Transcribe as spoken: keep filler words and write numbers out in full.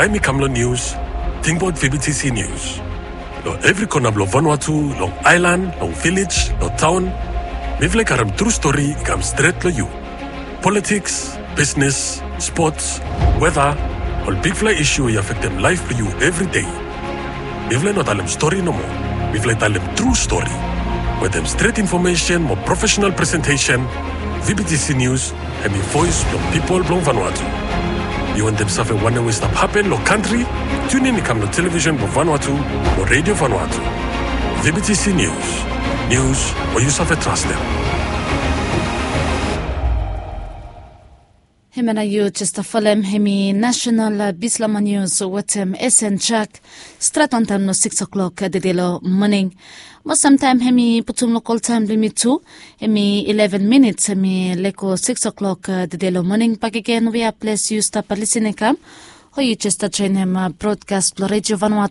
Taem i kam long nius, tingbaot V B T C Nius. Long evri kona blong Vanuatu, long aelan, long vilej, long taon, mifala i karem tru stori i kam stret long yu. Politiks, bisnes, spots, weta, ol bigfala isu we i afektem laef blong yu evri dei. Mifala i no talem stori nomo. Mifala i talem tru stori. Wetem stret infomesen mo profesenal presentesen, V B T C Nius hem i voes blong pipol blong Vanuatu. Yu wantem save wanem we i stap hapen long kantri? Tiunin i kam long televisen blong Vanuatu mo Redio Vanuatu. V B T C Nius. Nius we yu save trastem. Hemia nao yu jes stap folem hem i Nasenal Bislama Nius wetem Esen Jak, stret wantaem long sikis klok tede long moning. Mostamtaem hem i putum lokol taem blong yumi tu, hem i ileven minits hem i lego sikis klok tede long moning. Bakegen wea ples yu stap lisin i kam, o yu jes stap joenem brodkas blong Redio Vanuatu.